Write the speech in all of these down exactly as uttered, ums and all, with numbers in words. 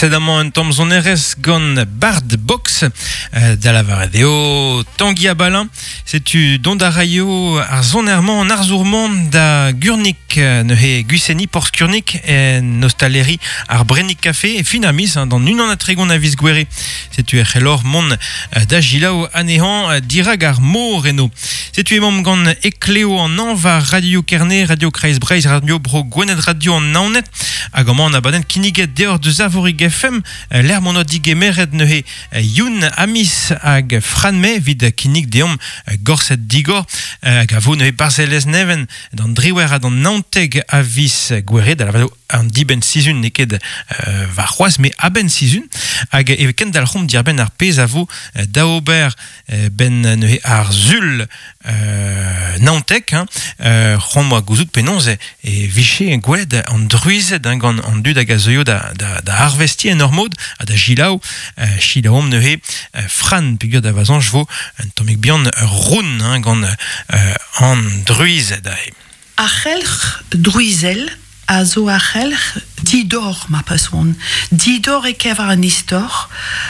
Sed amañ un tamm sonerezh gant Bard Box euh, da lavaret eo Tangi Abalin. Setu dont a raio ar sonermañ an arzour-mañ da Gurnik neuze Gwiseni Porzh Kurnik en ostaleri ar Brennig Café e fin ar miz hein, d'an unan ha tregont a viz Gouere. Setu e c'hellor mont da gilaou anezhañ dirag ar mor eno. Setu emaomp gant Ekleo an anv war Radio Kerne, Radio Kreiz Breizh, Radio Bro Gwened, Radio an Naoned hag amañ an abadenn kinniget deoc'h deus Arvorig F M lec'h m'on oa digemeret neuze Youn Amis hag Fran May evit kinnig deomp Gorsedd Digor hag a vo neuze Barzelez Neven d'an driwec'h ha d'an naontek a viz Gouere da lavaret an dibenn sizhun n'eo ket euh, war c'hoazh me a-benn sizhun hag e kendalc'homp diarbenn ar pezh a vo da ober ben neuze ar sul euh, naontek hein, euh, c'hoant moa gouzout penaos e, e vije gwelet an druized hein, gant an dud hag a zeuio da, da, da arvesti en ur mod ha da gilaou euh, chilaomp neuze euh, Fran peogwir da vazañj vo un tammig bihan roun hein, gant euh, an druized aze. Ar c'helc'h druizel a zo ar c'helc'h didor ma pason. Didor e kever an istor,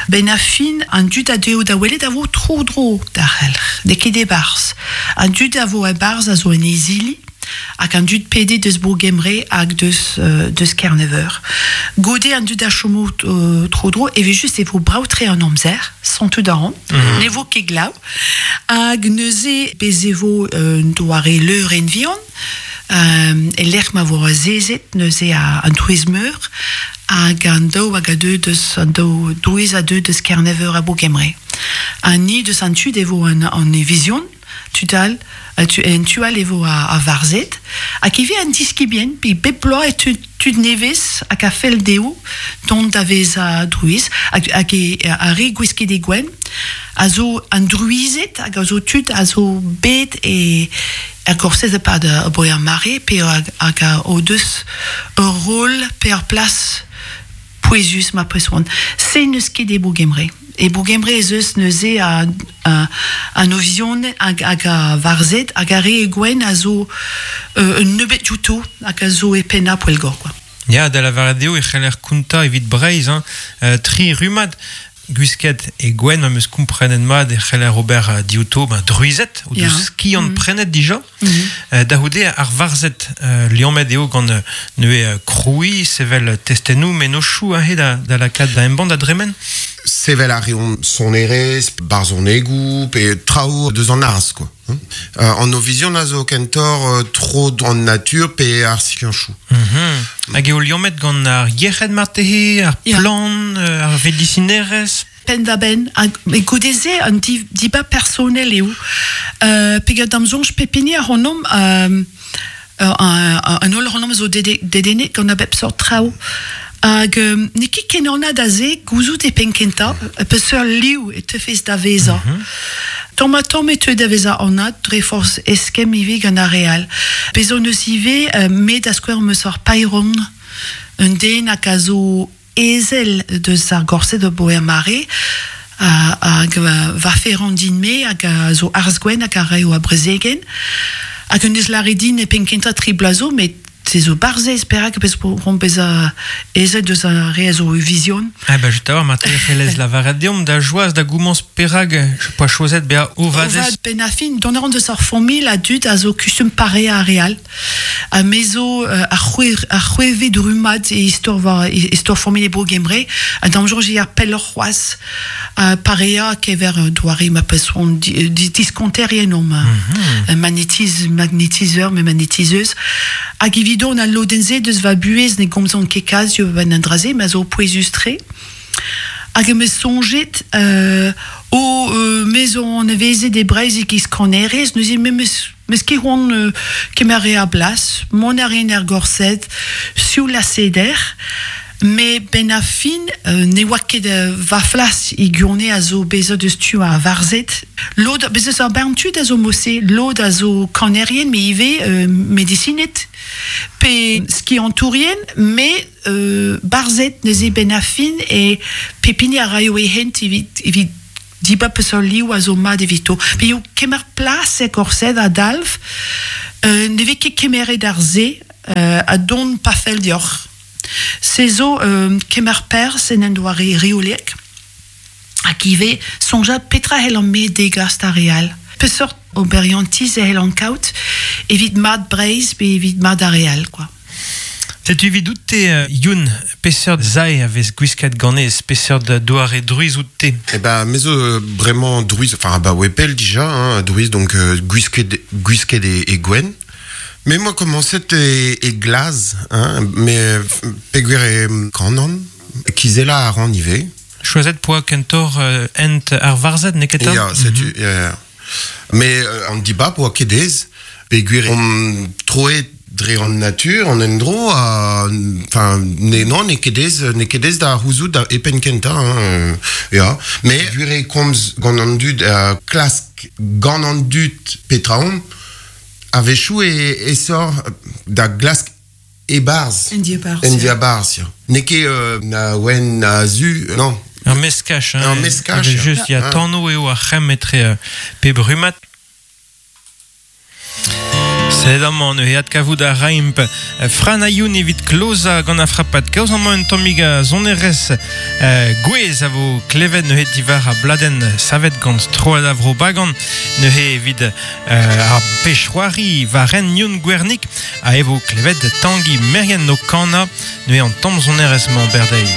ben a fin an dud a deo da welet a vo tro dro d'ar c'helc'h, de ket e barz. An dud a vo e barz a zo en ezili, hag an dud pede deus Bourg-Gembre hag deus, euh, deus Kerneveur. Gode an dud a chomo euh, tro dro, e ve just e vo braoutre an amzer, santout a ran, mm -hmm. ne vo ket glav, hag neuze bez e vo euh, doare leur en vihan, Euh, e lec'h ma vo azezet neuze a an drouiz meur hag an daou hag a deu deus an daou drouiz a deu deus Kerneveur a Bourg-Gembre. An ni deus an tud e vo an, an evizion, tudal, tu, en tual e vo a, a varzet, hag e ve an diskibien, pi bep bloaz e tud, tud nevez hag a fell dezho dont da vez a drouiz, hag, hag e, a re gwisket e gwenn, a zo an drouized hag a zo tud a zo bet e ar gorsez epad a boe ar mare pe hag, hag a o deus ur rôl pe ur plas pouezus ma presoan. Se n'eus ket e Bourg-Gembre. E Bourg-Gembre ez eus neuze a, a, a novizion hag, hag a varzed hag a re e gwenn a zo euh, un nebeut diouto hag a zo e penna poellgor, quoi. Ya, da lavaret eo e c'heller kontañ evit Breizh, hein, euh, tri rummad gwisket e gwenn, ma meus komprenet mat e c'heller ober diouto ben, druized, o deus skiant mm -hmm. prenet dija. Mm -hmm. euh, da c'houde ar varzed euh, liammet eo gant neuze kroui, sevel testennoù, mennozhioù aze da, da lakaat da embann da dremen. Sevel a reont sonerezh, barzhonegoù, pe traoù deus an arz, quoi. Euh, an ovizion a zo kentor euh, tro an natur pe ar skianchoù. Mm -hmm. Hag eo liammet gant ar yec'hed marteze, ar plan, yeah. ar vedisinerezh? Penn da benn, hag e goude-se an di, diba personel eo. Euh, peogwir d'am soñj pep hini ar c'honom euh, an holl c'honom zo dedennet gant a bep sort traoù. Hag euh, n'eo ket ken anat aze gouzout e penn kentañ, peseurt liv e teufez da vezañ. Mm -hmm. Tamm ha tamm e teu da vezañ anat dre forzh eskemm ivez gant ar re all. Bez' hon eus ivez euh, me da skouer meus ur paeron, un den hag a zo ezel deus ar gorsedd o boe ar mare, hag va ferran din-me hag a zo arz gwenn hag a raio a brezegen. Hag un eus lâret din e penn kentañ tri bloaz zo, met se zo barzez perak bez ron bezañ ezel deus ar re a zo vision. Ah ben just a-walc'h marteze c'hellez lavaret deomp da joaz da gomañs perak poa choazet bezañ ovadez. Ovad ben a fin, dont a ran deus ar familh a dud a zo kustum pare ar re all. Ha me zo euh, ar c'hwe- ar c'hweved rummad e istor war e istor familh e Bro-Gembre, ha d'am soñj eo ar pelloc'h c'hoazh uh, parea kever doare ma peson di, di, diskonterien omp. Mm -hmm. magnétiz, magnétiseur, me magnétiseuse. Hag evidon al lodenn-se deus va buhez ne gomzan ket kalz ben an dra-se, ma zo pouezus-tre. Hag em eus soñjet euh, o euh, me zo anavezet e Breizh e-giz kanerez, neuze me meus meus ket c'hoant euh, kemer re a blas, mont a rin er gorsedd, sioul ha seder, me ben a fin euh, ne oa ket euh, va flas e gwirionez a zo bezañ deus tu ar varzed. Lod, bez eus ar bern tud a zo mose, lod a zo kanerien, me ivez euh, medisined, pe skiantourien, me euh, barzed neuze ben a fin e pep hini a raio e hent evit, evit dibab peseurt liv a zo mat evito. Pe eo kemer plas e gorsedd a dalv, euh, ne vez ket kemeret ar se euh, a dont pa fell deoc'h. Se zo euh, kemer perz en en doare reolek, hag ivez soñjal petra c'hellan me degas d'ar re all. Peseurt oberiantiz e c'hellan kaout evit mad Breizh pe evit mad ar re all, quoi. Setu evidout-te, euh, Youn, peseurt sae a vez gwisket ganez, peseurt doare drouiz out-te? Eh ben, me zo euh, bremañ drouiz, enfin, bah, ouais, pell dija, hein, drouiz, donc euh, gwisket, gwisket e, e gwenn. Me 'moa komañset e, e glaz, hein, met peogwir e kanan, kizellañ a ran ivez. Choazet 'poa kentoc'h euh, hent ar varzhed, n'eo ket 'ta? Ya, setu, mm -hmm. ya, ya. Met euh, an dibab oa ket aes, peogwir on troet dre an natur, an endro, ha, enfin, ne, non, n'eo ket aes, n'eo ket aes da c'houzout da e penn kentañ, hein, euh, ya. Met gwir eo komz gant an dud, uh, klask gant an dud petra on, a-wechoù e, aesoc'h da glask e-barzh. En diabarzh. En diabarzh, ya. N'eo ket euh, na wenn na zu, non. Ur meskaj, hein. Ur meskaj, Evel just, ya, ya. tano eo ar c'hemm etre euh, pep rummad. Sed amañ neuze adkavout a raimp Fran ha Youn evit klozañ gant ar frapad kaoz amañ un tammig a sonerezh euh, gouez a vo klevet neuze diwar ar bladenn savet gant Strollad ar Vro Bagan neuze evit euh, ar pezh-c'hoari war hent Youn Gwernig a e vo klevet Tangi Merien o kanañ neuze an tamm sonerezh-mañ berdeiz.